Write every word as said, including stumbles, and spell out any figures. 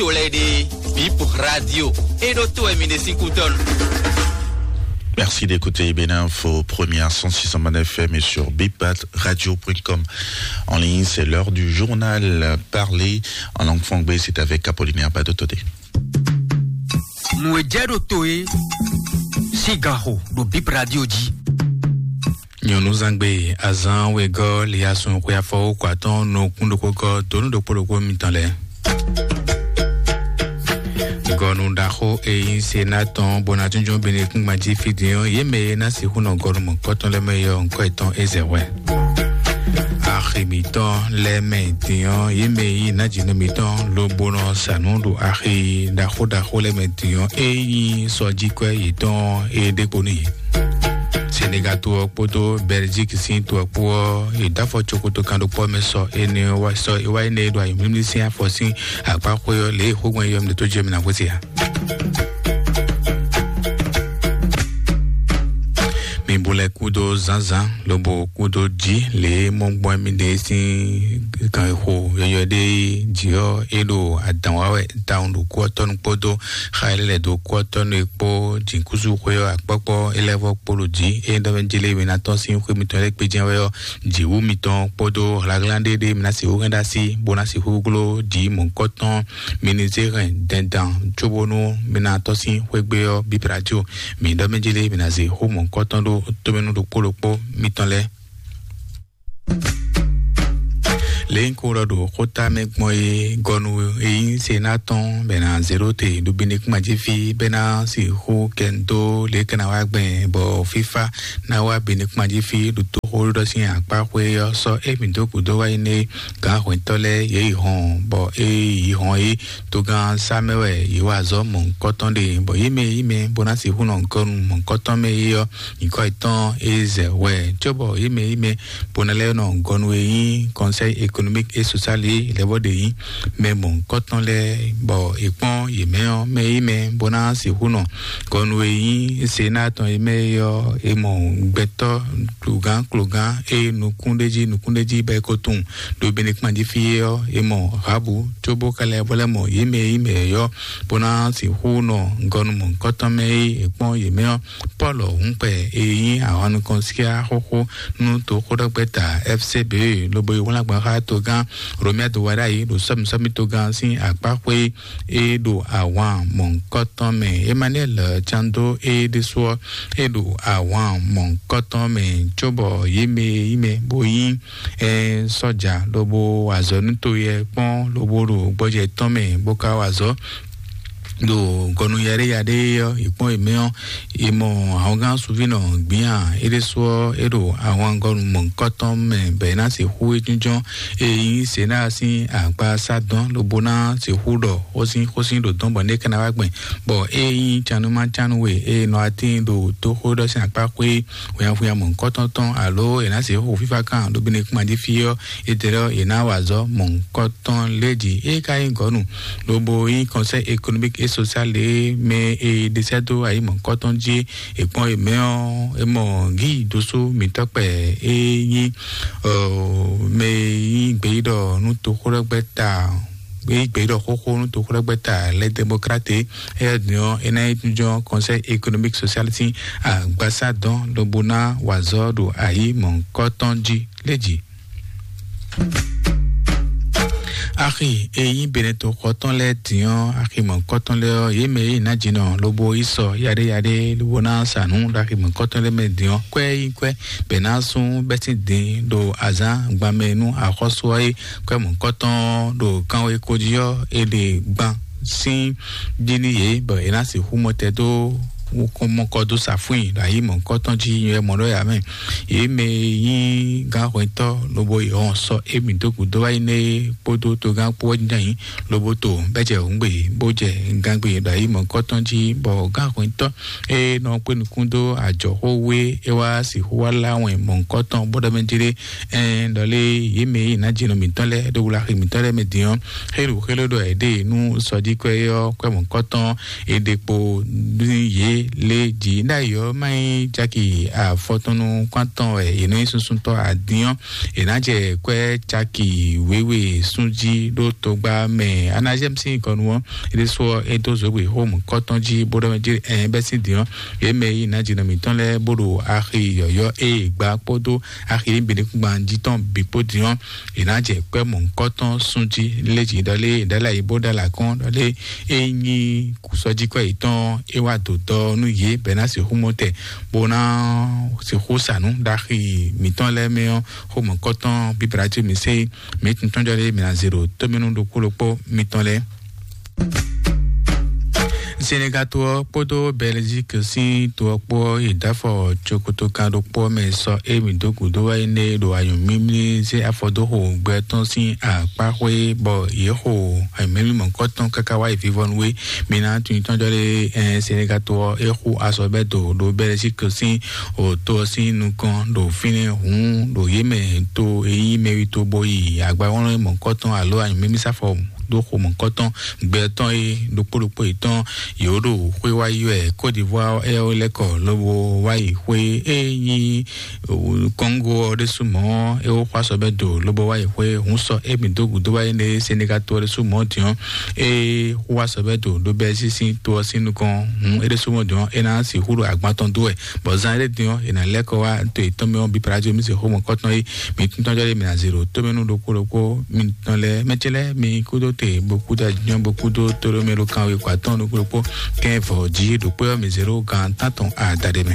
to lɛ́ɛ ɖe, Bip Radio, é ɖó to wɛ mi ɖe sín kútɔ́nu. Merci d'écouter Bénin Info, première cent six cent F M et sur bipatradio point com. En ligne, c'est l'heure du journal parlé en langue fangbe, c'est avec Apollinaire Badotodé. Nǔ e jɛ ɖo to e sín ganxo ɖo Bip Radio jí. Nyɔ̌nuzangbe azán wegɔ́ liasun xwe afɔwókɔ atɔ́ɔ́n nukún ɖokpó gɔ́ donu ɖokpó ɖokpó mitɔn lɛ́ɛ. Gɔnu ɖaxó e nyí Sena tɔn bó ná jínjɔ́n Benekúngban jí fí din ɔ́, yě mɛ e ná sixú nɔ gɔnu mɔ̌kɔtɔn lɛ́ɛ mɛ é ɔ́, ŋkɔ́ yětɔn é zɛ hwɛ. Axi mǐtɔn lɛ́ɛ mɛ din ɔ́, yě mɛ e nyí nǎjínɔ mǐtɔn lobo nɔ sa nǔ ɖo axi ɖaxó ɖaxó lɛ́ɛ mɛ din ɔ́, é nyí sɔjíkwɛ́ yětɔn é ɖe kpo n'i. Senegal to ɔ́ kpódó Belgique sín to ɔ́ kpó ɔ́, è dó afɔ cokoto kan ɖokpó mɛ sɔ énɛ́ wá sɔ é wá énɛ́ e ɖo ayǐmlímlí sín afɔ sín akpá xwé ɔ́, lě e xógbɛ́n yɔ́ mi ɖo tó jɛ mi ná xwé se ǎ. Mi bu lɛ kúdó zǎnzǎn lobo kúdó jí lě e mɔ gbɔn mì ɖe sín ganxixo yɔyɔ ɖé jí ɔ́, é ɖo adǎn wa wɛ tawun ɖo kú ɔ́ tɔnu kpódó xa e lɛ́ lɛ̌ dó kú ɔ́ tɔnu e kpó jǐkúzú xwé ɔ́ akpɔ́kpɔ́ é lɛ́ vɔ kpo ɖo jǐ. É ɖɔ mɛ jlé mi ná tɔ́n sín xwé mitɔn lɛ́ɛ kpé jɛ́n wɛ ɔ́, jǐwú mitɔn kpódó hlaglán ɖé ɖé mi ná sixú hɛn ɖó así, bó ná sixú gló jǐ mɔ̌hunkɔtɔn mi ní zé hɛn dɛndɛn cóbónú mi ná tɔ́n sín xwé gbe ɔ́ bíblá jí o. Mi ɖɔ mɛ jlé mi ná zé xó mɔ̌hunkɔtɔn ɖó tómɛnú ɖokpó ɖokpó mitɔn lɛ́ɛ. Lě nyí kó ɖɔ ɖo xóta mɛ gbɔn é gɔnu e nyí se ná tɔn bɛ ná zéro te ɖo Benekúma jí fí bɛ ná sixú kɛ dó lě kɛ ná wá gbɛn bɔ fífá ná wá Benekúma jí fí ɖo toxó ɖɔ sín akpá xwé ɔ́ sɔ́ émí dó gǔdo wá yi nɛ gǎn hwɛntɔ́ lɛ́ɛ yě yi hɔn bɔ é yi hɔn é togán sá mɛ wɛ yě wa azɔ̌ mɔ̌hunkɔtɔn ɖe bɔ yě mɛ yí mɛ bó ná sixú nɔ gɔnu mɔ̌hunkɔtɔn mɛ é ɔ́ nyǐkɔ yětɔn é zɛ hwɛ cóbɔ yě mɛ yí mɛ bó ná lɛ́ nɔ gɔnu e nyí Conseil économique et social é lɛ́ bɔ ɖe nyí mɛ mɔ̌hunkɔtɔn lɛ́ɛ bɔ è kpɔ́n yě mɛ ɔ́ mɛ yí mɛ bó ná sixú nɔ gɔnu e nyí Sénat tɔn e mɛ é ɔ́ è mɔ gbɛtɔ́ klogán klogán e nukún ɖé jí nukún ɖé jí bɔ é ko tunwun ɖo Benekúma jí fí é ɔ́ è mɔ Habu cóbó ka lɛ́ bó lɛ́ mɔ yě mɛ yí mɛ ɔ́ bó ná sixú nɔ gɔnu mɔ̌hunkɔtɔn mɛ e è kpɔ́n yě mɛ ɔ́. Pɔ́lu Hǔnkpɛ e nyí ahwan nukɔn síá xóxó nú toxóɖɔgbɛ́ta F C B lobo yi wlán gbɔn xá togán Romia do wá ɖ'ayǐ ɖo sɔ́misɔ́mi togán sín akpáxwé e ɖo ahwan mɔ̌hunkɔtɔn mɛ. Emmanuel Cando e ɖésú ɔ́ e ɖo ahwan mɔ̌hunkɔtɔn mɛ cóbɔ yě mɛ e nyí mɛ bó nyí ɛ sɔ́ja lobo wa azɔ̌ nú to yɛ kpɔ́n lobo ɖo gbɔjɛ tɔn mɛ bó ka wa azɔ̌ ɖo gɔnu yaɖéyaɖé ɔ́, è kpɔ́n è mɛ ɔ́, è mɔ ahɔngán sunvínɔ gbǐn a é ɖésú ɔ́, é ɖo ahwangɔnu mɔ̌hunkɔtɔn mɛ bɔ é ná sixú é jínjɔ́n e nyí Sena sín agbaza dɔn lobo ná sixú ɖɔ xósin xósin ɖo dɔn bɔ né ka ná wá gbɛn bɔ é nyí cannumacánnu e é nɔ atín ɖo toxóɖɔ sín akpá xwé hwinhwanhwinhwan mɔ̌hunkɔtɔn tɔn alo è nǎ sixú xo fífá kan ɖo Benekúma jí fí ɔ́, é tlɛ ɔ́, è nǎ wa azɔ̌ mɔ̌hunkɔtɔn lé jí. É ka nyí gɔ̌nu lobo nyí Conseil économique et social e mɛ e ɖe sɛ́ dó ayǐ mɔ̌hunkɔtɔn jí é kpɔ́n é mɛ ɔ́, é mɔ gíyi dósú mǐtɔn kpɛ é nyí mɛ e nyí gbeyíɖɔ nú toxóɖɔgbɛ́ta gbeyígbeyíɖɔ xóxó nú toxóɖɔgbɛ́ta lɛ́ démokráte é ɔ́ din ɔ́ é ná nyí jínjɔ́n Conseil économique social sín agbaza dɔn lobo ná wa azɔ̌ ɖo ayǐ mɔ̌hunkɔtɔn jí lé jí. Axi e nyí Benɛto xɔtɔn lɛ́ɛ din ɔ́, axi mɔ̌hunkɔtɔn lɛ́ɛ ɔ́, yě mɛ e nyí nǎjínɔ lobo yí sɔ yaɖéyaɖé lobo ná sa nǔ ɖo axi mɔ̌hunkɔtɔn lɛ́ɛ mɛ din ɔ́, kwɛ́ yí kwɛ́ bɛ̌ ná sú bɛ́ sín din ɖo azǎn gban mɛ nú axɔ́sú ɔ́ é kwɛ́ mɔ̌hunkɔtɔn ɔ́ ɖo kanwekó jí ɔ́, è ɖe gban sín jí nú yě bɔ è ná sixú mɔtɛn dó mɔkɔ dó sa fún i ɖo ayǐ mɔ̌hunkɔtɔn jí nyɔ̌ mɔ ɖó yǎ mɛ. Yě mɛ e nyí gǎnhwɛntɔ́ lobo yi hɔn sɔ émí dó gǔdo wá yi nɛ́ é kpódó togán kpó wɛ jínjɔ́n ayǐ lobo to bɛ́ jɛ hǔngbe bó jɛ gangbe ɖo ayǐ mɔ̌hunkɔtɔn jí bɔ gǎnhwɛntɔ́ e nɔ kpé nukún dó ajɔ̌xówé é wá sixú wá lá wɛn mɔ̌hunkɔtɔn bó ɖɔ mɛ jí ɖé ɛn ɖɔ lé yě mɛ e nǎ jɛ nɔ mǐtɔn lɛ́ɛ ɖo wlaxi mǐtɔn lɛ́ɛ mɛ din ɔ́, xélu xélu ɖɔ è ɖe nú sɔjíkwɛ́ ɔ́ kwɛ́ mɔ̌hunkɔtɔn è ɖe kpo nú yě lé jǐ ɖ'ayǐ ɔ́ má nyí caki afɔtɔnnu kpántɔn wɛ è nɔ nyí susuntɔ́ adín ɔ́, è nǎ jɛ kwɛ́ caki wěwe sún jí ɖó togba mɛ. Anazɛ́m sín kɔnu ɔ́, é ɖésú ɔ́, é dó zǒgbǐ xó mɔ̌kɔ́tɔn jí bó ɖɔ mɛ jí ɛn bɛ́ sín din ɔ́, yě mɛ e yí nǎ jǐnɔ mǐtɔn lɛ́ɛ bó ɖo axi yɔ̌yɔ́ e è gbǎ kpódó axi e bǐ ɖekúngban jí tɔn bǐ kpó din ɔ́, è nǎ jɛ kwɛ́ mɔ̌kɔ́tɔn sún jí lé jǐ ɖɔ lé ɖɔ lé ayǐ bó ɖɔ lě akɔ́n ɖɔ lé é nyí sɔjíkwɛ́ yětɔn é wá dǒ dɔ nú yě bɔ é ná sixú mɔ tɛ bó ná sixú sa nǔ ɖaxi mǐtɔn lɛ́ɛ mɛ ɔ́, xó mɔ̌kɔtɔn bíbra cí mi sé mǐ tuntɔ́njɔ lé mǐ ná zé ɖo tómɛnú ɖokpó ɖokpó mitɔn lɛ́ɛ. Senegal to ɔ́ kpódó Belgique sín to ɔ́ kpó ɔ́ yi dó afɔ cokotokan ɖokpó ɔ́ mɛ sɔ émi dó gǔdo wá énɛ́ ɖo anyǔmímlí zé afɔ dó xo gbɛ tɔn sín akpáxwé bɔ yě xo anyǔmímlí mɔ̌kɔtɔn káká wá yi vivɔnu wé. Mi ná tunwun tɔn jɔ lé ɛn Senegal to ɔ́ é xú azɔ̌ bɛ́ do ɖo Belgique sín o to ɔ́ sín nukɔn ɖo fínɛ́ hǔn ɖo yě mɛ to e nyí mɛwi to bo yi agbawlɔn mɔ̌kɔtɔn alo anyǔmímlí sáfɔ dó xomɔ̌kɔtɔn gbɛ tɔn e ɖokpó ɖokpó yětɔn yě ɖo xwé wá yi wɛ Côte d'Ivoire ɔ́ lɛ́ kɔ lobo wá yi xwé e nyí Congo ɔ́ ɖésú mɔ̌ é wó xwá sɔ bɛ́ do lobo wá yi xwé hun sɔ émi dó gǔdo wá yi nɛ Senegal to ɔ́ ɖésú mɔ̌ din ɔ́ é xwá sɔ bɛ́ do ɖó bɛ́ sísí to ɔ́ sín nukɔn hun é ɖésú mɔ̌ din ɔ́ é ná sixú ɖo agban tɔn dó wɛ bɔ zan éɖé din ɔ́ è nǎ lɛ́ kɔ wá to yětɔn mɛ ɔ́ bí Brazil mi se xomɔ̌kɔtɔn é mi tún tɔn jɔ ɖé mi ná zé ɖo tómɛnú ɖokpó ɖokpó mi tɔn lɛ́ɛ mɛ ce lɛ́ɛ mi kúdó te bó kúdó ajínjɔ́n bó kúdó tóɖómɛ ɖo kanwe kó atɔ́ɔ́n ɖokpó ɖokpó kɛ́n vɔ jí ɖokpó ɔ́ mi zé ɖó gan tántɔn adaɖé mɛ.